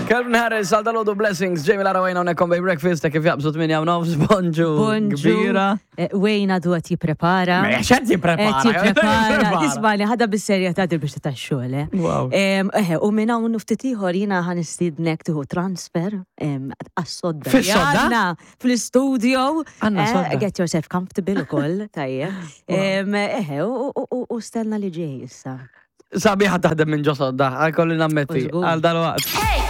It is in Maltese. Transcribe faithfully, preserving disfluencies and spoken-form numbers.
Calvin Harris, għal dalgħodu Blessings, Jamie Lara Wayne hawnhekk on Breakfast, kif jaqbżu tmienja u nofs, bonġu. Bonġu. Kbira. Eh, Wayne għadu qed jipprepara. Ma xed jipprepara? Qed jipprepara. Ismani, ħadha bis-serjetà dil biex ta' xogħol, eh. Wow. Em, Eħe, u minn hawn ftit ieħor jiena ħa nistiednek tieħu transfer em, għas-sodda. li Fis-sodda? għandna fl-studio. Għandna Eh, sodda. Get yourself comfortable ukoll, tajjeb. Em, Eħe, u- u u- u stenna li ġej issa. Sabiħa taħdem minn ġo sodda, għal kolli nammetti, Żgur. għal dal-waqt.